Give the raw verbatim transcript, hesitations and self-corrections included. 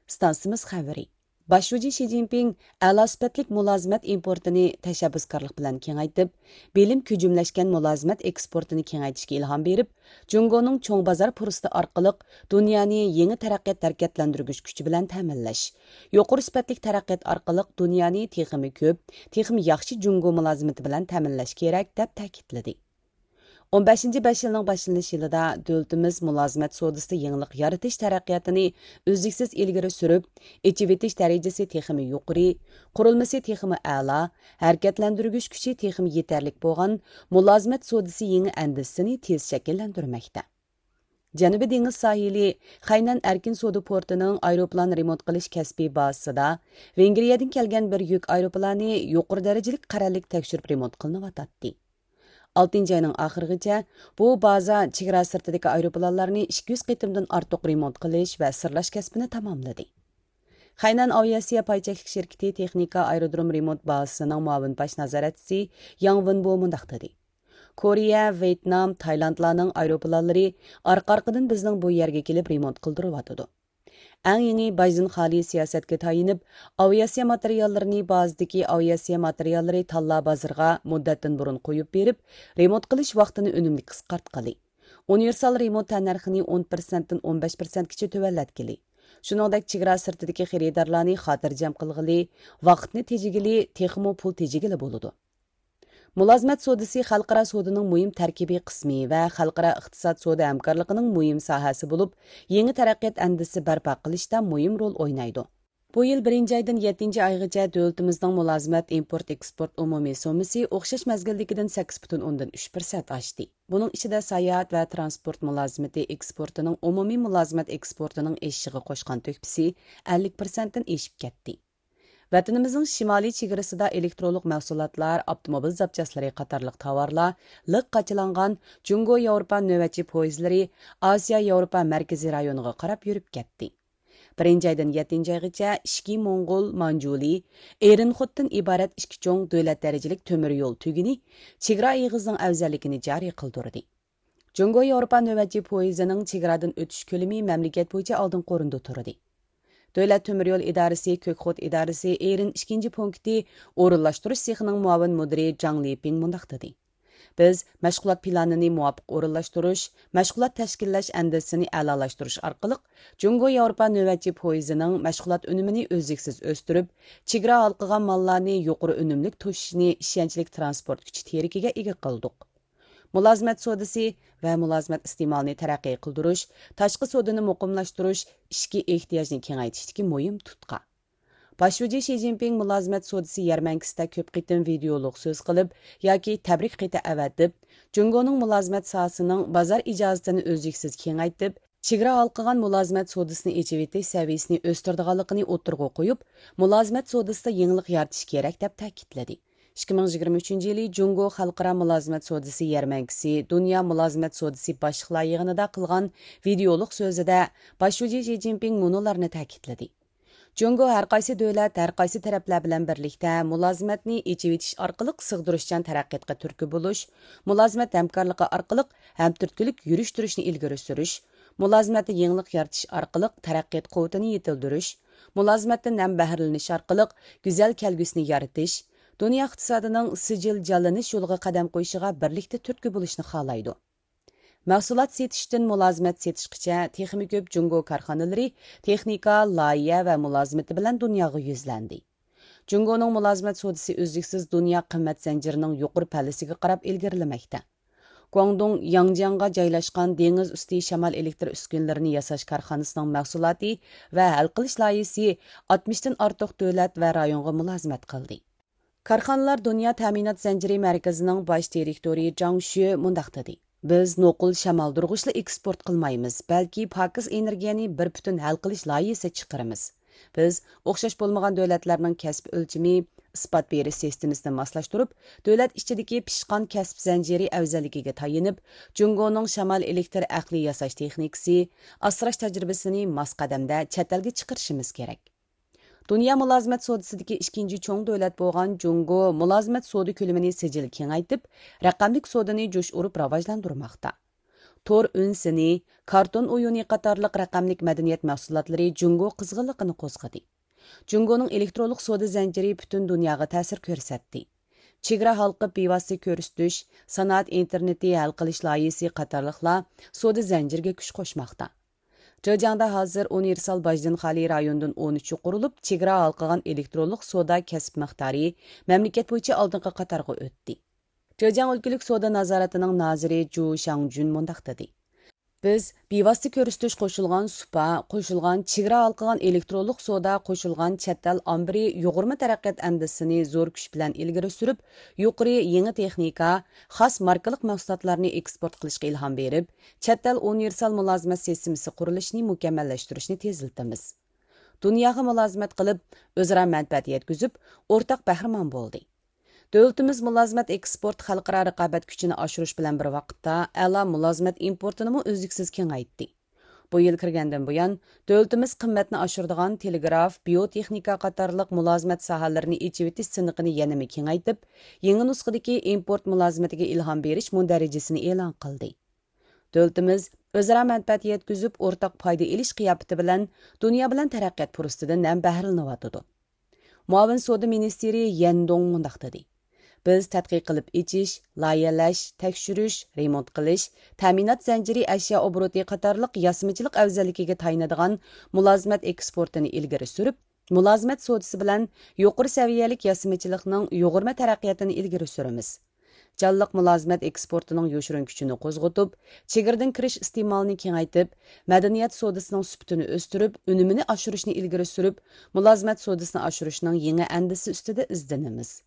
ئىستانسىمىز خەۋىرى. باش شۇجى شى جىنپىڭ ئەلا سۈپەتلىك مۇلازىمەت ئىمپورتىنى تەشەببۇسكارلىق بىلەن كېڭەيتىپ، بىلىم كۆجۈملەشكەن مۇلازىمەت ئېكسپورتىنى كېڭەيتىشكە ئىلھام بېرىپ، جۇڭگونىڭ چوڭ بازار پۇرسىتى ئارقىلىق دۇنيانى يېڭى تەرەققىيات ھەرىكەتلەندۈرگۈچ كۈچى بىلەن تەمىنلەش، يۇقىرى سۈپەتلىك تەرەققىيات ئارقىلىق دۇنيانى تېخىمۇ كۆپ، تېخىمۇ ياخشى جۇڭگو مۇلازىمىتى بىلەن تەمىنلەش كېرەك، دەپ تەكىتلىدى. ئون بەشىنچى بەش يىلنىڭ باشلىنىش يىلىدا دۆلىتىمىز مۇلازىمەت سودىسىدا يېڭىلىق يارىتىش تەرەققىياتىنى ئۈزلۈكسىز ئىلگىرى سۈرۈپ، ئېچىۋېتىش دەرىجىسى تېخىمۇ يۇقىرى، قۇرۇلمىسى تېخىمۇ ئەلا، ھەرىكەتلەندۈرگۈچ كۈچى تېخىمۇ يېتەرلىك بولغان مۇلازىمەت سودىسى يېڭى ئەندىزىسىنى تېز شەكىللەندۈرمەكتە. جەنۇبىي دېڭىز ساھىلى خەينەن ئەركىن سودا پورتىنىڭ ئايروپىلان رېمونت قىلىش كەسپىي بازىسىدا ۋېنگرىيەدىن كەلگەن بىر يۈك ئايروپىلانى يۇقىرى دەرىجىلىك قەرەللىك تەكشۈرۈپ رېمونت قىلىنىۋاتاتتى. ئالتىنچى ئاينىڭ ئاخىرىغىچە بۇ بازا چېگرا سىرتىدىكى ئايروپىلانلارنى ئىككى يۈز قېتىمدىن ئارتۇق رېمونت قىلىش ۋە سىرلاش كەسپىنى تاماملىدى. خەينەن ئاۋىئاتسىيە پاي چەكلىك شىركىتى تېخنىكا ئايرودروم رېمونت بازىسىنىڭ مۇئاۋىن باش نازارەتچىسى ياڭ ۋېنبو مۇنداق دېدى: كورېيە، ۋيېتنام، تايلاندلارنىڭ ئايروپىلانلىرى ئارقا-ئارقىدىن بىزنىڭ بۇ يەرگە كېلىپ رېمونت قىلدۇرۇۋاتىدۇ. ئەڭ يېڭى باجدىن خالىي سىياسەتكە تايىنىپ، ئاۋىئاتسىيە ماتېرىياللىرىنى بازىدىكى ئاۋىئاتسىيە ماتېرىياللىرى تاللا بازىرىغا مۇددەتتىن بۇرۇن قويۇپ بېرىپ، رېمونت قىلىش ۋاقتىنى ئۈنۈملۈك قىسقارتقىلى. ئۇنىۋېرسال رېمونت تەننەرخىنى ئون پىرسەنتتىن ئون بەش پىرسەنتكىچە تۆۋەنلەتكىلى. شۇنىڭدەك چېگرا سىرتىدىكى خېرىدارلارنى خاتىرجەم قىلغىلى، ۋاقىتنى تېجىگىلى، تېخىمۇ پۇل تېجىگىلى بولىدۇ. مۇلازىمەت سودىسى خەلقئارا سودا نىڭ مۇھىم تەركىبىي قىسمى ۋە خەلقئارا ئىقتىساد سودا ھەمكارلىقىنىڭ مۇھىم ساھەسى بولۇپ، يېڭى تەرەققىيات ئەندىزىسى بەرپا قىلىشتا مۇھىم رول ئوينايدۇ. بۇ يىل بىرىنچى ئايدىن يەتتىنچى ئايغىچە دۆلىتىمىزنىڭ مۇلازىمەت ئىمپورت ئېكسپورت ئومۇمىي سوممىسى ئوخشاش مەزگىلدىكىدىن سەككىز پۈتۈن ئوندىن ئۈچ پىرسەنت ئاشتى. بۇنىڭ ئىچىدە ساياھەت ۋە ترانسپورت مۇلازىمىتى ئېكسپورتىنىڭ ئومۇمىي مۇلازىمەت ئېكسپورتىنىڭ ئېشىشىغا قوشقان تۆھپىسى ئەللىك پىرسەنتتىن ئېشىپ كەتتى. ۋەتىنىمىزنىڭ شىمالىي چېگرىسىدا ئېلېكترونلۇق مەھسۇلاتلار، ئاپتوموبىل زاپچاسلىرى قاتارلىق تاۋارلار لىق قاچىلانغان جۇڭگو ياۋروپا نۆۋەتچى پويىزلىرى ئاسىيا ياۋروپا مەركىزىي رايونىغا قاراپ يۈرۈپ كەتتى. بىرىنچى ئايدىن يەتتىنچى ئايغىچە ئىچكى موڭغۇل، مانجۇلى، ئېرىنخوتتىن ئىبارەت ئىككى چوڭ دۆلەت دەرىجىلىك تۆمۈر يول تۈگۈنى چېگرا ئېغىزىنىڭ ئەۋزەللىكىنى جارى قىلدۇردى. جۇڭگو ياۋروپا نۆۋەتچى پويىزىنىڭ چېگرادىن ئۆتۈش كۆلىمى مەملىكەت بويىچە ئالدىنقى ئورۇندا تۇردى. دۆلەت تۆمۈر يول ئىدارىسى كۆكخوت ئىدارىسى ئېرىن ئىككىنچى پونكىتى ئورۇنلاشتۇرۇش سېخىنىڭ مۇئاۋىن مۇدىرى جاڭ لىپىڭ مۇنداق دېدى: بىز مەشغۇلات پىلانىنى مۇۋاپىق ئورۇنلاشتۇرۇش، مەشغۇلات تەشكىللەش ئەندىزىسىنى ئەلالاشتۇرۇش ئارقىلىق جۇڭگو ياۋروپا نۆۋەتچى پويىزىنىڭ مەشغۇلات ئۈنۈمىنى ئۈزلۈكسىز ئۆستۈرۈپ، چېگرا ھالقىغان ماللارنى يۇقىرى ئۈنۈملۈك توشۇشىنى ئىشەنچلىك ترانسپورت كۈچى تىرىكىگە ئىگە قىلدۇق. مۇلازىمەت سودىسى ۋە مۇلازىمەت ئىستېمالىنى تەرەققىي قىلدۇرۇش، تاشقى سودىنى مۇقىملاشتۇرۇش ئىچكى ئېھتىياجنى كېڭەيتىشتىكى مۇھىم تۇتقا. باش شۇجى شى جىنپىڭ مۇلازىمەت سودىسى يەرمەنكىسىدە كۆپ قېتىم ۋىدېئولۇق سۆز قىلىپ ياكى تەبرىك خېتى ئەۋەتىپ، جۇڭگونىڭ مۇلازىمەت ساھەسىنىڭ بازار ئىجازىتىنى ئۈزلۈكسىز كېڭەيتىپ، چېگرا ھالقىغان مۇلازىمەت سودىسىنى ئېچىۋېتىش سەۋىيىسىنى ئۆستۈرىدىغانلىقىنى ئوتتۇرىغا قويۇپ، مۇلازىمەت سودىسىدا يېڭىلىق يارىتىش كېرەك، دەپ تەكىتلىدى. ئىككى مىڭ يىگىرمە ئۈچىنچى يىلى جۇڭگو خەلقئارا مۇلازىمەت سودىسى يەرمەنكىسى دۇنيا مۇلازىمەت سودىسى باشلىقلار يىغىنىدا قىلغان ۋىدېئولۇق سۆزىدە باش شۇجى شى جىنپىڭ مۇنۇلارنى تەكىتلىدى: جۇڭگو ھەرقايسى دۆلەت، ھەرقايسى تەرەپلەر بىلەن بىرلىكتە مۇلازىمەتنى ئېچىۋېتىش ئارقىلىق سىغدۇرۇشچان تەرەققىياتقا تۈرتكە بولۇش، مۇلازىمەت ھەمكارلىقى ئارقىلىق ھەمتۈرتكىلىك يۈرۈشتۈرۈشنى ئىلگىرى سۈرۈش، مۇلازىمەتتە يېڭىلىق يارىتىش ئارقىلىق تەرەققىيات قۇۋۋىتىنى يېتىلدۈرۈش، مۇلازىمەتتىن ھەم بەھرىلىنىش ئارقىلىق گۈزەل كەلگۈسىنى يارىتىش، دۇنيا ئىقتىسادىنىڭ سىجىل جانلىنىش يولىغا قەدەم قويۇشىغا بىرلىكتە تۈرتكە بولۇشنى خالايدۇ. مەھسۇلات سېتىشتىن مۇلازىمەت سېتىشقىچە تېخىمۇ كۆپ جۇڭگو كارخانىلىرى تېخنىكا، لايىھە ۋە مۇلازىمىتى بىلەن دۇنياغا يۈزلەندى. جۇڭگونىڭ مۇلازىمەت سودىسى ئۈزلۈكسىز دۇنيا قىممەت زەنجىرىنىڭ يۇقىرى پەللىسىگە قاراپ ئىلگىرىلىمەكتە. گۇاڭدۇڭ ياڭجياڭغا جايلاشقان دېڭىز ئۈستى شامال ئېلېكتر ئۈسكۈنىلىرىنى ياساش كارخانىسىنىڭ مەھسۇلاتى ۋە ھەل قىلىش لايىھىسى ئاتمىشتىن ئارتۇق دۆلەت ۋە رايونغا مۇلازىمەت قىلدى. كارخانىلار دۇنيا تەمىنات زەنجىرى مەركىزىنىڭ باش دىرېكتورى جاڭ شۈ مۇنداق دېدى: بىز نوقۇل شامالدۇرغۇچلا ئېكسپورت قىلمايمىز، بەلكى پاكىز ئېنېرگىيەنى بىر پۈتۈن ھەل قىلىش لايىھىسى چىقىرىمىز. بىز ئوخشاش بولمىغان دۆلەتلەرنىڭ كەسىپ ئۆلچىمى، ئىسپات بېرىش سىستېمىسىنى ماسلاشتۇرۇپ، دۆلەت ئىچىدىكى پىشقان كەسىپ زەنجىرى ئەۋزەللىكىگە تايىنىپ، جۇڭگونىڭ شامال ئېلېكتر ئەقلىي ياساش تېخنىكىسى، ئاسراش تەجرىبىسىنى ماس قەدەمدە چەت ئەلگە چىقىرىشىمىز كېرەك. دۇنيا مۇلازىمەت سودىسىدىكى ئىككىنچى چوڭ دۆلەت بولغان جۇڭگو مۇلازىمەت سودا كۆلىمىنى سىجىل كېڭەيتىپ، رەقەملىك سودىنى جۇش ئۇرۇپ راۋاجلاندۇرماقتا. تور ئۈنسىنى، كارتون ئويۇنى قاتارلىق رەقەملىك مەدەنىيەت مەھسۇلاتلىرى جۇڭگو قىزغىنلىقىنى قوزغىدى. جۇڭگونىڭ ئېلېكترونلۇق سودا زەنجىرى پۈتۈن دۇنياغا تەسىر كۆرسەتتى. چېگرا ھالقىپ بىۋاسىتە كۆرسىتىش، سانائەت ئىنتېرنېتى ھەل قىلىش لايىھىسى قاتارلىقلار سودا زەنجىرىگە كۈچ قوشماقتا. جېجياڭدا ھازىر ئۇنىۋېرسال باجدىن خالىي رايوندىن ئون ئۈچى قۇرۇلۇپ، چېگرا ھالقىغان ئېلېكترونلۇق سودا كەسىپ مىقدارى مەملىكەت بويىچە ئالدىنقى قاتارغا ئۆتتى. جېجياڭ ئۆلكىلىك سودا نازارىتىنىڭ نازىرى جۇ شاڭجۈن مۇنداق دېدى: بىز بىۋاسىتە كۆرسىتىش قوشۇلغان سۇپا، قوشۇلغان چېگرا ھالقىغان ئېلېكترونلۇق سودا، قوشۇلغان چەت ئەل ئامبىرى يۇغۇرما تەرەققىيات ئەندىزىسىنى زور كۈچ بىلەن ئىلگىرى سۈرۈپ، يۇقىرى يېڭى تېخنىكا، خاس ماركىلىق مەھسۇلاتلارنى ئېكسپورت قىلىشقا ئىلھام بېرىپ، چەت ئەل ئۇنىۋېرسال مۇلازىمەت سىستېمىسى قۇرۇلۇشىنى مۇكەممەللەشتۈرۈشنى تېزلىتىمىز. دۇنياغا مۇلازىمەت قىلىپ، ئۆزئارا مەنپەئەت يەتكۈزۈپ، ئورتاق بەھرىمەن بولدى. دۆلىتىمىز مۇلازىمەت ئېكسپورت خەلقئارا رىقابەت كۈچىنى ئاشۇرۇش بىلەن بىر ۋاقىتتا، ئەلا مۇلازىمەت ئىمپورتىنىمۇ ئۈزلۈكسىز كېڭەيتتى. بۇ يىل كىرگەندىن بۇيان، دۆلىتىمىز قىممەتنى ئاشۇرىدىغان تېلېگراف، بىيوتېخنىكا قاتارلىق مۇلازىمەت ساھەلىرىنى ئېچىۋېتىش سىنىقىنى يەنىمۇ كېڭەيتىپ، يېڭى نۇسخىدىكى ئىمپورت مۇلازىمىتىگە ئىلھام بېرىش مۇندەرىجىسىنى ئېلان قىلدى. دۆلىتىمىز ئۆزئارا مەنپەئەت يەتكۈزۈپ، ئورتاق پايدا ئېلىش قىياپىتى بىلەن دۇنيا بىلەن تەرەققىيات پۇرسىتىدىن ھەم بەھرىلىنىۋاتىدۇ. مۇئاۋىن سودا مىنىستىرى يەن دۇڭ مۇنداق دېدى: بىز تەتقىق قىلىپ ئېچىش، لايىھەلەش، تەكشۈرۈش، رېمونت قىلىش، تەمىنات زەنجىرى ئەشيا ئوبوروتى قاتارلىق ياسىمىچىلىق ئەۋزەللىكىگە تايىنىدىغان مۇلازىمەت ئېكسپورتىنى ئىلگىرى سۈرۈپ، مۇلازىمەت سودىسى بىلەن يۇقىرى سەۋىيەلىك ياسىمىچىلىقنىڭ يۇغۇرما تەرەققىياتىنى ئىلگىرى سۈرىمىز. جانلىق مۇلازىمەت ئېكسپورتىنىڭ يوشۇرۇن كۈچىنى قوزغىتىپ، چېگرىدىن كىرىش ئىستېمالىنى كېڭەيتىپ، مەدەنىيەت سودىسىنىڭ سۈپىتىنى ئۆستۈرۈپ، ئۈنۈمىنى ئاشۇرۇشنى ئىلگىرى سۈرۈپ، مۇلازىمەت سودىسىنى ئاشۇرۇشنىڭ يېڭى ئەندىزىسى ئۈستىدە ئىزدىنىمىز.